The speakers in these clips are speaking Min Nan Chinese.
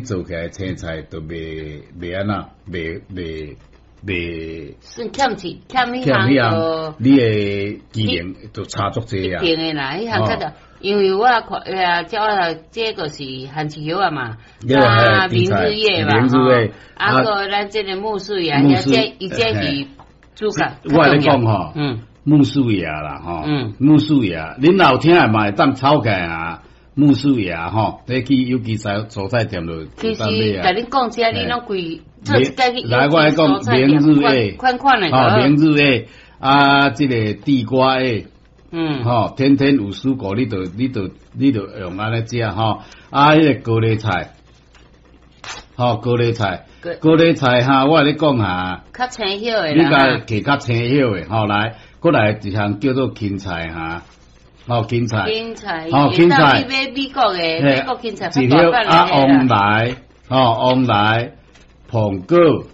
做起來青菜就袂袂按怎，袂袂袂算欠一欠彼欠彼項項，你的機能就差足濟啊。一定的啦，彼項較著，因為我看啊，照我這個是番薯葉仔嘛，啊，明日葉嘛，明日葉，啊，閣咱這個苜蓿啊，遐這伊這是主角。我共你講吼，苜蓿葉啦，吼，苜蓿葉，恁若有聽的嘛會當抄起來啊。苜蓿葉吼，你去有機菜蔬菜店就其實，共恁講這，你攏規做一擺去來，我來講明日葉，款款的，吼，明日葉啊，這個地瓜葉，吼，天天有水果，你就用按呢食吼，啊，彼個高麗菜，吼，高麗菜，高麗菜哈，我共你講哈，較青葉的，你共摕較青葉的，吼，來，閣來一項叫做芹菜哈。吼，芹菜，吼，芹菜，你買美國的，美國芹菜一葉啊，黃梨，吼，黃梨，蘋果，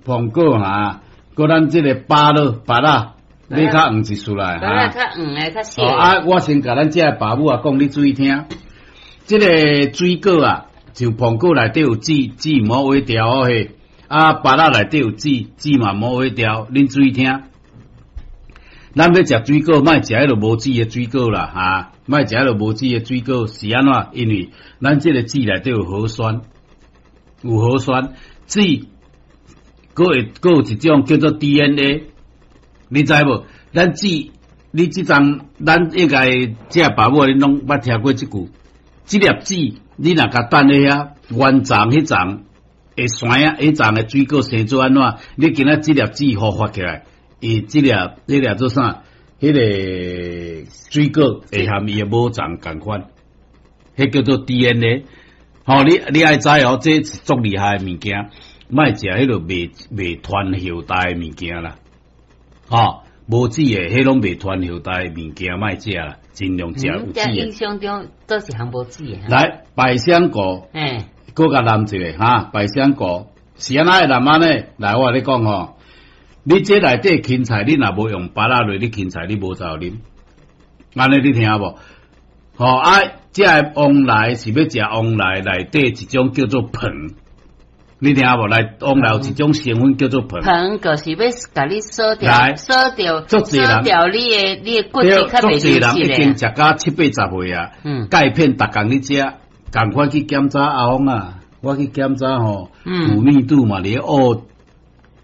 蘋果哈，閣咱這個芭樂，芭樂，你較黃一絲來哈，較黃的較細。啊，我先共咱這个爸母啊講，你注意聽，這个水果啊，就蘋果內底有籽，籽毋好挖掉哦嘿，啊，芭樂內底有籽，籽嘛毋好挖掉，恁注意聽。咱欲食水果，莫食彼个無籽的水果啦，哈！莫食彼个無籽的水果是按怎？因為咱這个籽內底有核酸，有核酸，籽閣會閣有一種叫做 DNA，你知無？咱籽，你這陣咱應該這爸母恁攏捌聽過這句，這粒籽你若共等咧遐原叢彼叢會生啊，彼叢的水果生做按怎？你今仔這粒籽孵化起來。伊這粒這粒做啥？彼个水果會和伊的母叢仝款，彼叫做 DNA。吼，你愛知哦，這是足厲害的物件，莫食彼个袂袂傳後代的物件啦。吼，無籽的，彼攏袂傳後代的物件，莫食啦，盡量食有籽的。印象中都是項無籽的。來，百香果，閣共淋一个哈，百香果是按怎會淋按呢？來，我共你講吼。你這內底芹菜，你若無用芭樂落，你芹菜你無走啉，按呢你聽無？吼啊！這个黃梨是欲食黃梨內底一種叫做硼，你聽無？來，黃梨有一種成分叫做硼。硼就是欲共你鎖掉，鎖掉，鎖掉你的骨質較袂足濟人已經食甲七八十歲啊，鈣片逐工咧食，仝款去檢查阿峰啊，我去檢查吼，骨密度嘛佇咧烏。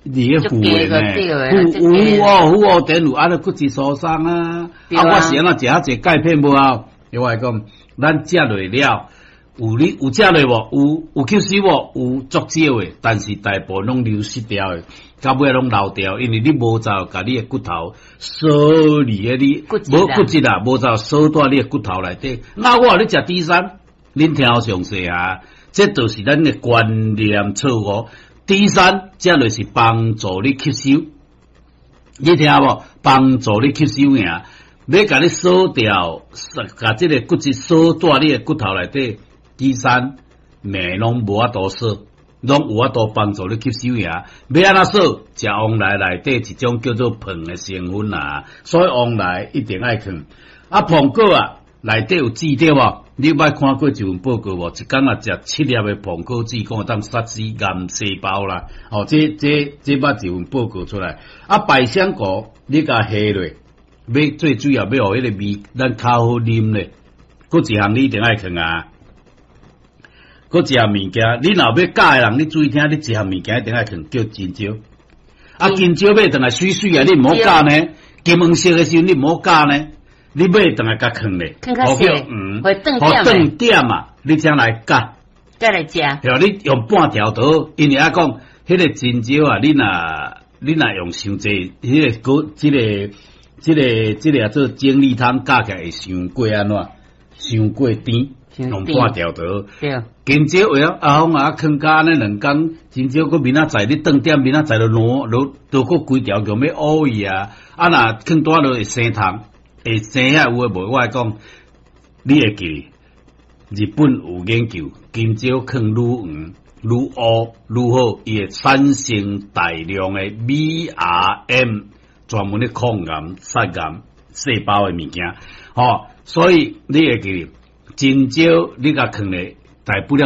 佇咧負的呢，負有哦，負哦，電有按呢骨質疏鬆啊！啊，我是按怎食遐濟鈣片無啊？我來講，咱食落了，有你有食落無？有有吸收無？有足少的，但是大部分攏流失掉的，到尾攏流掉，因為你無走共你的骨頭鎖佇咧你無骨質啊，無走鎖佇你的骨頭內底。那我予你食 D 三，恁聽好詳細啊！這就是咱的觀念錯誤。D 三，這就是幫助你吸收，你聽無？幫助你吸收爾，欲共你鎖掉，共這個骨質鎖佇你的骨頭內底。D 三，鎂攏無法度鎖，攏有法度幫助你吸收爾。欲按怎鎖？食黃梨內底一種叫做硼的成分啊，所以黃梨一定愛囥。啊，蘋果啊，內底有籽對無？你捌看過一份報告無？一工若食七粒的蘋果籽，講會當殺死癌細胞啦。哦，這這這捌一份報告出來。啊，百香果你共下落，欲最主要欲予彼個味，咱較好啉咧。閣一項你一定愛囥啊。閣一項物件，你若欲鉀的人，你注意聽，你一項物件一定愛囥，叫金蕉。啊，金蕉買轉來媠媠啊，你毋好鉀呢。金黃色的時陣，你毋好鉀呢。你買轉來共囥咧，予叫黃，予斷點啊！你才來鉸，再來食。對，你用半條就好，因為啊講，彼個金蕉啊，你若用傷濟，彼个果，這个、這个、這个做精力湯，加起來會傷過按怎？傷過甜，用半條就好。對。金蕉會曉阿峰啊，囥甲按呢兩工，金蕉閣明仔載你斷點，明仔載就爛，落都閣規條叫欲烏去啊！啊，若囥大落會生蟲。會生遐有的無？我來講，你會記日本有研究，金蕉囥愈黃、愈烏、愈好，伊會產生大量的 BRM，專門咧抗癌、殺癌細胞的物件。吼，所以你會記，金蕉你共囥咧，大不了。